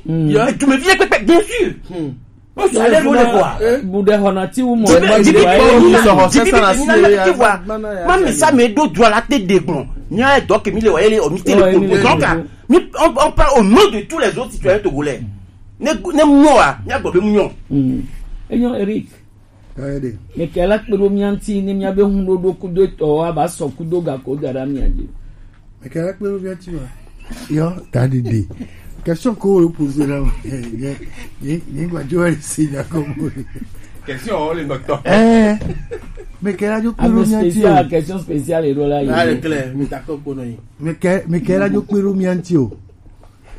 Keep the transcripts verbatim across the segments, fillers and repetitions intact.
Yo, tu me viens pépé, bien sûr. Bon, ça allait, vous le voir. Bude hona ti wu mo. Jibi, jibi, jibi, jibi, jibi, tu vois. Mami sa me do droit la te de bon. Nya do ke mi le wa ele o mi te le ko. Donc, mi, on, on parle au nom de tous les autres citoyens togolais. Ne, ne mo wa, nya go be mu nyo. Enyo Eric. Kaede. Mekela kpe ɖo mía ŋuti ne míabe ŋuɖoɖo kudo etɔwo aba sɔ kudo gako da ɖe mía dzi. Mekela kpe ɖo mía ŋuti ma. Yo, dadidi. Question ko wo poser na ma. Ye, ye, ye gba jo si na ko mo. Question o le docteur. Eh. Mekela jo kpe ɖo mía ŋuti. Question spéciale ɖo la. Là, le clair, mi ta ko ko no yi. Mekela jo kpe ɖo mía ŋuti o.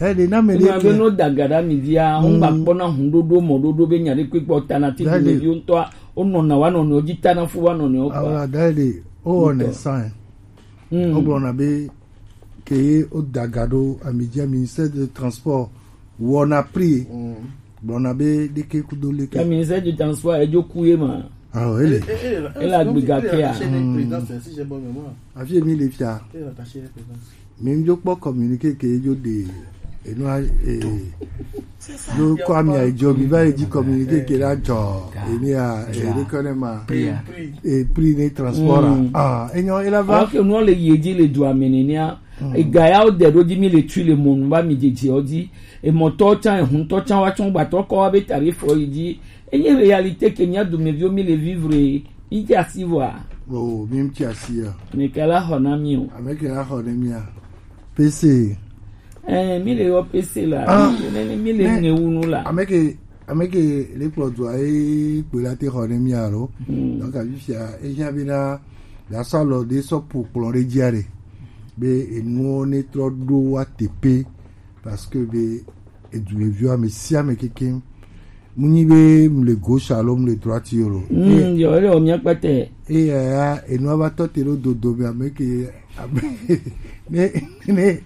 Eɖe na me ɖe Nya be ke. No dagaɖa mi dia, ŋgba kpɔna huɖoɖo mɔɖoɖo be nya ɖe kpekpe o tana ti Eɖe. Dumeviwo ŋutɔa, wonɔna wa nɔnɔewo dzi tana fu wa nɔnɔewo kpa. Awa da eɖe, o wɔnɛ Ŋutɔ. San. Mm. O gblɔna be ke ye o dagaɖo ami dia ministère de transport wɔna pri. Gblɔna be ɖeke kudo leke. Ya ministère du transport edzo ku ye ma. Ah, ele. Ele agbe gake a. Afi mi le fia. Mi dzo kpɔ communiqué ke dzo de enua eh dzo kɔ ami adzo mi va yi dzi communiqué ke la dzɔ emi a eh ɖe kɔ ne ma eh prix ne transport a ah enyo ela va. Alors que nous le yedi le du amenenia e ga ya o de do di mi le tu le monu ba mi dzi dzi o di e mɔtɔ tsan e huntɔ tsan wa tsan gbatɔ kɔ wa be tarif o yi di enye réalité ke mia dumeviwo mi le vivre yi dzi asi vɔa. Oh mi ti asi ya. Mekela xɔ na mi o. Ameke la xɔ ne mia. P C. Eh, mi le yɔ P C la. Ah, mi le, mi le ne, ne ŋe wu nu la. Ameke, ameke le kplɔ dua ye kpe la te xɔ ne mia lo. Hmm. Donc, afi sia, e nya be na, la sa lɔ de sɔ po kplɔ de dzia de. Be enuwo ne trɔ ɖo wa tepe. Parce que be edumeviwo ame sia ame kekeŋ. Mu nyi be mu le gauche alo mu le droite o lo. Mm, yo, ele o mia kpete. Eya ya enua va tɔ te ɖo dodo me ame ke ame ne ne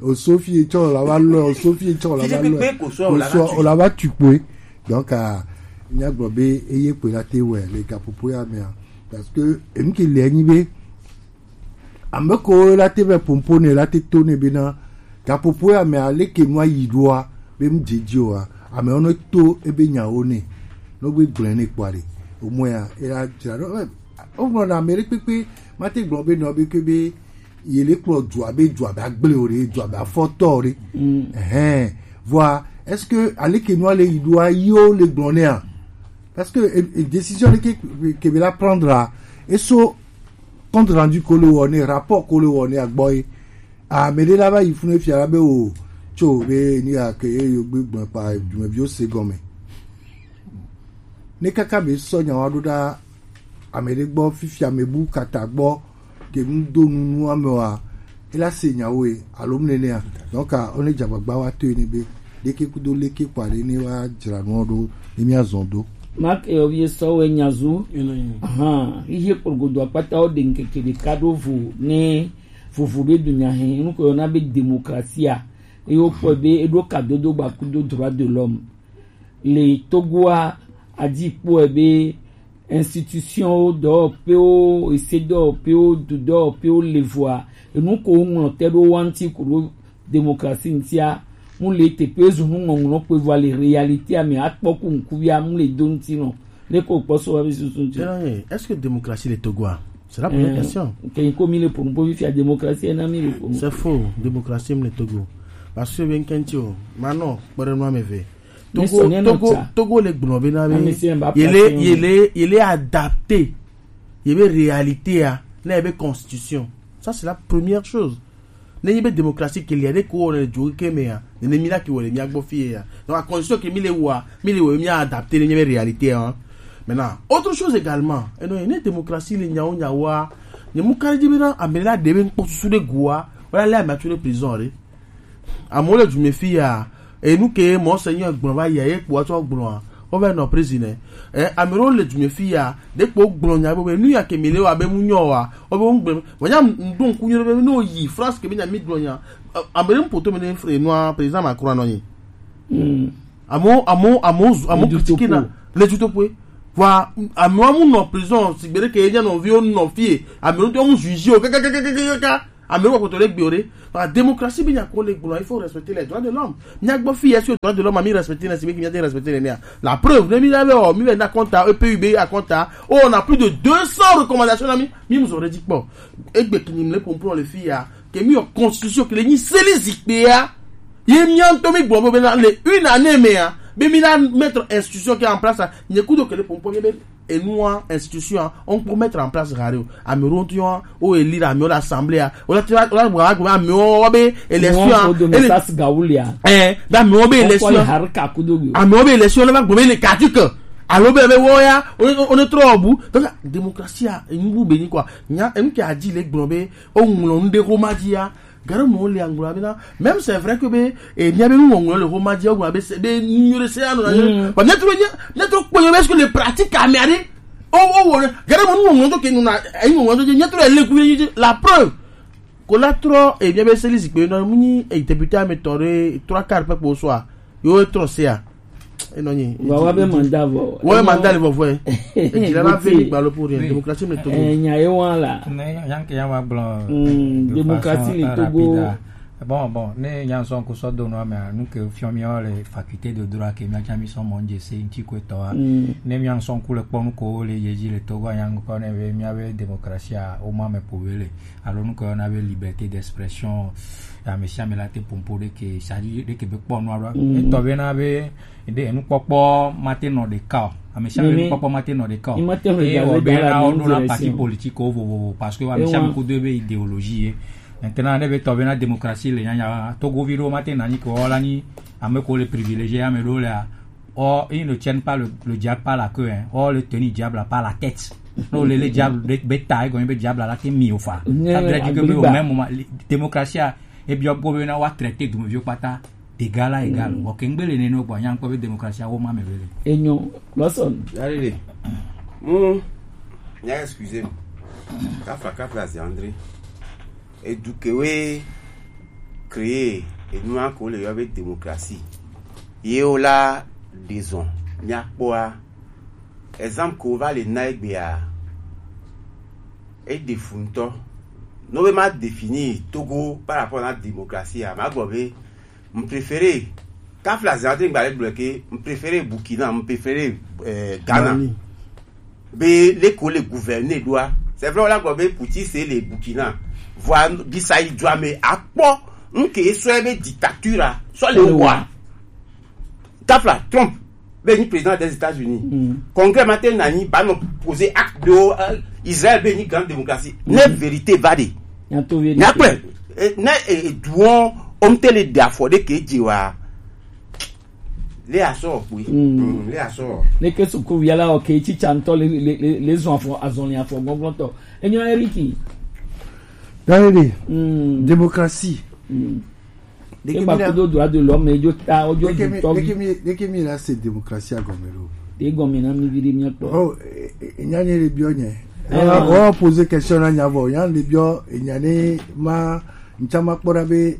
o sofi etsɔ o la va lɔ o sofi etsɔ o la va lɔ o la va tu kpoe. Donc a nya gblɔ be eye kpoe la te wɛ le gaƒoƒo ya mea parce que enu ke le nyi be Ame ko la te vɛ pompo ne la te to ne bena gaƒoƒo ya me aleke nua yi ɖoa be mu dzedzi oa ame wo ne to ebe nyawo ne no gbe gblẽ ne kpɔa ɖe omɔe ya ela dzra ɖo o gblɔ na ame ɖe kpekpe ma te gblɔ be nɔ be ke be ye le kplɔ dua be dua be agble o ɖe dua be afɔtɔ o ɖe ɛhɛn vɔa est-ce que aleke nua le yi ɖoa yiwo le gblɔ nea parce que e, e décision ɖe ke ke be la prendre a eso compte rendu ko le wɔ ne rapport ko le wɔ ne agbɔ ye ame ɖe la va yi funu efia la be o tso be ni ake ye yo gbe gbɔn kpa dumeviwo se gɔme ne kaka be sɔ nyawa ɖo ɖa ame ɖe gbɔ fifia ame bu kata gbɔ ke nu do nunu ame wa ela se nyawo ye alo mu nenea donc a one dzagbagba wa to ye ne be ɖeke kudo leke kpa ɖe ne wa dzra nua ɖo ne mia zɔn do. Mark eyɔvi esɔwɛ nyazu. Ahan ihe kporogodo akpata wo de nkeke ɖeka ɖo vo ne vovo be dunya he nuko yɔna be demokrasia eye wokpɔe be eɖo kadodo gba kudo droit de l'homme le togoa adi kpɔe be institution wo dɔwɔƒewo ese dɔwɔƒewo du dɔwɔƒewo le voa enuko woŋlɔ te ɖo wa ŋuti ku ɖo demokrasi ŋutia mu le teƒe ezu nu ŋɔŋlɔ kpe vɔ le réalité ame akpɔ ku ŋkuvia mu le do ŋuti nɔ le ko kpɔ so wa be susu ŋuti. Est-ce que démocratie le Togo a? C'est la première question. Ke ko mi le pour po fia démocratie na mi le pour. C'est faux, démocratie le Togo. Parce que ben kenti o, mano kpere no ameve. Togo Togo Togo le gblɔ be na be yele yele yele adapté. Yebe réalité a, na yebe constitution. Ça c'est la première chose. Ne nyi be démocratie ke lia ɖe ko wɔna le dzoke ke me ya nene mi la ke wɔ le mia gbɔ fie ya donc la condition ke mi le wa mi le wɔ mi adapter ne nyi be réalité hein maintenant autre chose également eno ne démocratie le nyawo nyawoa ne mu kari di be na ame la de be nkpɔ susu ɖe goa wala le ame atu ɖe prison ɖe amewo le dume fi ya enu ke monseigneur gblɔ va yia ye kpo atsɔ gblɔa wova nɔ prison ɛ ame ɖewo le dume fi ya ɖe kpo gblɔ nya be nu ya ke mi le wa be mu nyɔ wa wobe ŋugbe wònya ŋɖo ŋku nyuie be ne woyi France ke be nya mi gblɔ nya ame ɖe ŋpoto me ne fre nua président Macron anɔ nyi amewo amewo amewo zu amewo kritike na le dutoƒe vɔa amewo mu nɔ prison sigbe ɖe ke ye nya nɔviwo nɔ fie ame ɖewo mu juge o kakakakakaka Ame wo koto le gbe o ɖe. Parce que démocratie be nya ko le gblɔ, il faut respecter les droits de l'homme. Mia gbɔ fi ya si droits de l'homme, mi respecter na si be mia respecter ne ya. La preuve, ne mi la be o, mi be na compte E P U B a compte, oh, on a plus de deux cents recommandations na mi, mi mu zo re di kpɔ. Egbe kini mi le pompon le fi ya, ke mi o constitution ke le nyi seli zikpe ya. Ye mia ŋutɔ mi gbɔ be na le une année me ya, be mi na mettre institution ke en place, nye kudo ke le pompon be enua institution a, on peut mettre en place gare o. Ame ɖewo ŋutɔ ya, o éli ɖe amewo le assemblée a, o la te va, o la gba gbe amewo wa be élection a, Wọn o do ele mesas gawulia. Eh, be amewo be élection. Kɔli harika kudo bi o. Amewo be élection na va gbe be le caduc. Alo be be wo ya, o ne, o ne trɔ bu. Donc démocratie a, enu bu be ni quoi. Nya, enu ke a di le gblɔ be o ŋlɔ nu ɖe ko ma di ya. Gare mo le anglo abina. Même c'est vrai que be, eh, mia be nu ŋlɔ le ko ma di o gblɔ be se be nu yore se ano na. Mm. Ba ne tro ne, ne tro ko be ce que le pratique a mia de. O o wo. Gare mo nu ŋlɔ to ke nu na, eh, ŋlɔ to ne tro le ku la preuve. Ko la trɔ, eh, mia be se lisi pe no mu ni, eh, député a me tore trois quarts pe ko so a. Yo trɔ se a. Enɔ nyi. Wa wa be mandat vɔ. Wa be mandat le vɔvɔ. Ejila la ve ni gbalo pour rien. Démocratie me to. Eh, nya ye wa la. Ne yanke ya wa blanc. Mm, démocratie le Togo. Bon, bon, ne yan son ko so do no me nu ke fion mi o le faculté de droit ke mi a mi son mon je se nti ko to a. Ne mi yan son ko le pon ko le yeji le Togo yan ko ne ve mi ave démocratie a o ma me pour le. Alo nu ko na be liberté d'expression. Ya me sia me la te pompo de ke sadi de ke be pon no alo. E to be na be Ede enukpɔkpɔ mate nɔ ɖeka o. Ame sia ame nukpɔkpɔ mate nɔ ɖeka o. Eye wɔ be na woɖo na parti politique wo vovovo parce que ame sia ame kudo ebe idéologie ye. Maintenant ne be tɔ be na démocratie le nyanya Togovi ɖewo mate na nyi ke wola nyi ame ko le privilégié ame ɖewo lea. Or ils ne tiennent pas le, le diable par la queue, hein. Or le tenir diable par la tête. No le le diable be ta egɔme be diable la te mi o fa. Ça veut dire que au même moment démocratie a ebiɔ bo be na wa traité dumeviwo kpata d'égal à égal. Bon, ke ŋgbe le nene o gbɔ, nya ŋkpɔ be démocratie awo ma me be le. Enyo, Lawson. Allez, mu, nya excusez-moi. Kafla, kafla, c'est André. Edu ke we créer, enu a ko le yɔ be démocratie. Ye o la, disons, nya kpɔ a. Exemple ko va le na egbea. E de fu ŋutɔ. No be ma définir Togo par rapport à la démocratie a, ma gbɔ be M préféré, kafla zate ngba le gblɔ ke, m préféré Burkina, m préféré, euh, Ghana. Be le ko le gouverner doa. C'est vrai, on a gblɔ be Poutine c'est le Burkina. Voilà, di sa yi doa me akpɔ, nke so be dictature a, so le wa. Kafla, Trump, be ni président des États-Unis. Congrès ma te na ni ba no poser acte de, euh, Israël be ni grande démocratie. Ne vérité va de. Nyakpɛ, eh, ne, eh, duɔ, om te le da fɔ de ke dzi wa. Le asɔ, oui. Mm, le asɔ. Ne ke suku via la, ok, tsi tsa ŋutɔ le, le, le, le zɔn afɔ, azɔli afɔ gbɔngbɔn tɔ. Enyo Eriki. Dani, démocratie. Egba kudo droit de l'homme, edzo ta, odzo dutɔ vi. Deke mi, deke mi la se démocratie agɔme lo. Egɔme na mi vi ɖe mi kpɔ. Oh, e, e, nya nye le biɔ nye. Ah. Wa, wa poser question na nya vɔ, nya le biɔ, e nya ne ma, ntsa ma kpɔ ɖa be,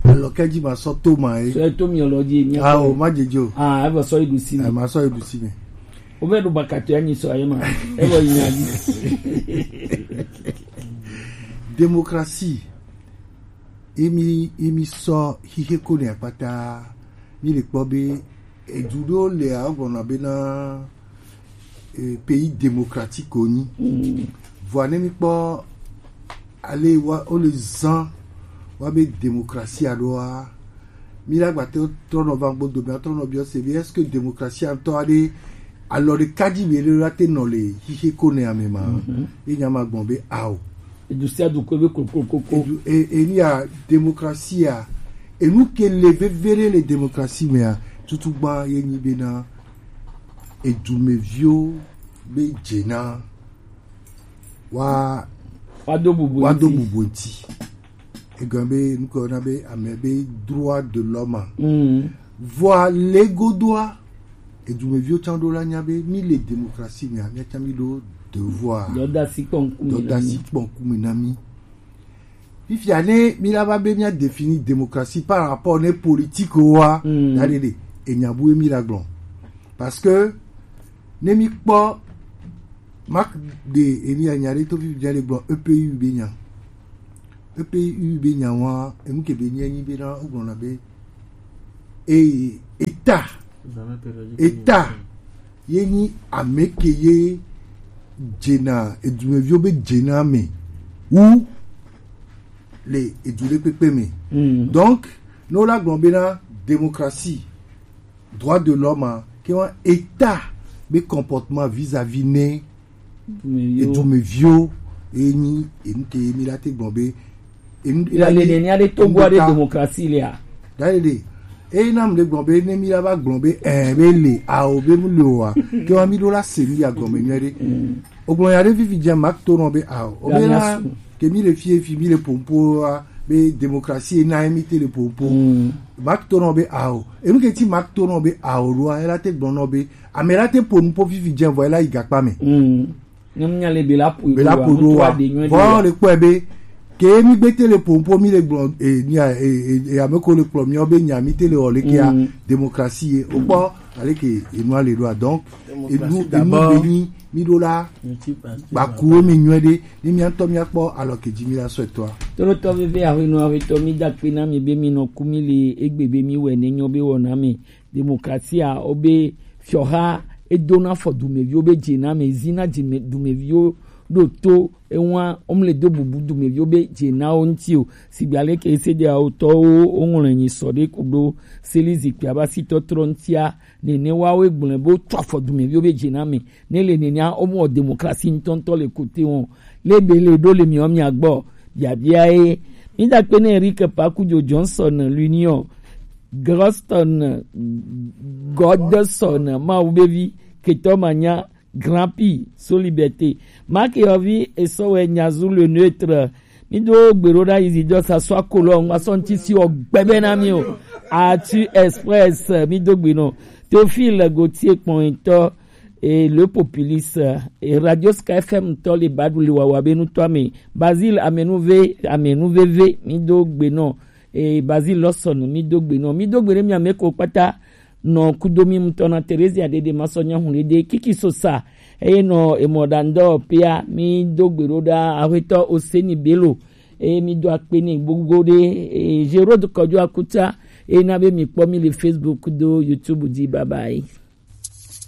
alɔ ke dzi ma sɔ to ma ye. Sɔ to mi lɔ dzi, mi. Ah, o, ma dze dzi o. Ah, e va sɔ yi ɖusi mi. Eh, ma sɔ yi ɖusi mi. O be ɖo bakato ya nyi sɔ ye ma. E va yi nya dzi. Démocratie. Emi, emi sɔ xixe ko ne akpata, mi le kpɔ be edu ɖewo le awɔ gbɔna bena, eh, pays démocratique wonyi. Vɔa ne mi kpɔ ale wa, wo le zan wa be démocratie aɖoa, mi la gba te trɔ nɔ va gbodo, mi trɔ nɔ biɔ se be, est-ce que démocratie ŋutɔ aɖe alɔ ɖeka dzi mi ɖe la te nɔ le xixe ko ne ame ma? Ye nya ma gbɔn be ao. Edu sia du ko be kokokoko. Edu, e, e, ni ya démocratie a, enu ke le veve ɖe le démocratie mea, tutu gba ye nyi bena, edumeviwo be dze na wa, wa do bubu wa do ŋuti. Bubu ŋuti. Egɔme be, nukɔ na be, ame be droit de l'homme. Vɔa le godoa, edumeviwo tsã ɖo la nya be, mi le démocratie mea, mia tsã mi ɖo devoir. Dɔdasi kpɔ ŋkume na mi. Dɔdasi kpɔ ŋkume na mi. Fifia ne mi la va be mia définir démocratie par rapport ne politique wa, da ɖe ɖe, enya bu mi la gblɔ. Parce que ne mi kpɔ, Marc de eni anya ɖe to fifi le gblɔ E P U be nya. P P U be nyawa, enu ke be nye nyi be na, o gblɔna be, e, eta, eta, ye nyi ame ke ye dzena, edumeviwo be dzena me wu le edu ɖe kpekpe me. Mm. Donc, ne wola gblɔ be na démocratie, droit de l'homme, ke wa eta be comportement vis-à-vis ne edumeviwo, e nyi enu ke mi la te gblɔ be, enu, la le ne nya de Togo de démocratie le a. Da le de. E na mu de gblɔ be ne mi la va gblɔ be, eh, be le, a o be mu le o a. Ke wa mi do la se mi ya gɔme nyuie de. Mm. O gblɔ ya de vivi dze ma to nɔ be a o. O be na ke mi le fie fi mi le pompo a, be démocratie na mi te le pompo. Mm. Ma to nɔ be a o. Enu ke ti ma to nɔ be a o lo a, e la te gblɔ nɔ be, ame la te po nu po vivi dze vɔ e la yi gakpa me. Mm. Ne nya le be la po, be la po do wa. Vɔ le kpɔe be, ke mi gbe te le pompo mi le gblɔ, e, nya, e, e, e, ame ko le kplɔ mi o be nya mi te le o le ke a, mm, démocratie ye. O kpɔ, ale ke enu ale do a. Donc, enu, enu be nyi, mi do la, gbakuwo mi nyuie de, ni mi ŋutɔ mi akpɔ alɔ ke dzi mi la sɔ etɔa. Tolotɔ veve ahuenɔ ahuetɔ mi da kpe na mi be mi nɔ ku mi le egbe be mi wɛ ne nyɔ be wɔ na mi. Démocratie a, o be fiɔha e do na fɔ dumeviwo be dze na me, zi na dze me, dumeviwo ɖo to ewa, o mle do bubu dumeviwo be dze na wo ŋuti o. Sigba le ke se de awo tɔwo, o ŋlɔ nyi sɔ de ku do seli zikpui aba si tɔtrɔ ŋutia, nene wa wo gblɔ be o tɔ afɔ dumeviwo be dze na me. Ne le nenia, o mɔ démocratie ŋutɔŋutɔ le kote wɔn. Le be le ɖo le miɔ mia gbɔ. Biabia ye. Mi da kpe ne Eric Pakujo Johnson, l'Union, Groston, Godson, Mawu be vi, Ketɔ Manya, Grand P, Soliberté. Marc Yovi, Esɔwɛ Nyazu le neutre. Mi do gbe ɖo ɖa Isidore Sassoa Kolon, ma sɔ ŋuti si o gbɛbɛ na mi o. Arthur Express, mi do gbe nɔ. Théophile Gauthier Kpɔnyitɔ, et le populiste, et Radio Sky F M tɔ le badu le wawa be nutɔ ame. Basil Amenuve, Amenuveve, mi do gbe nɔ. Et Basil Lawson, mi do gbe nɔ. Mi do gbe ne mi ame ko kpata nɔ kudo mi mutɔ na Theresia Dede Masɔnya Hunde de Kiki Sosa. Eye nɔ emɔ da ndɔ pia mi do gbe ɖo ɖa ahuetɔ Oseni Bello. Eye mi do akpe ni gbogbo de, e, Gérard Kɔjo Akuta. Eye na be mi kpɔ mi le Facebook do YouTube di. Bye bye.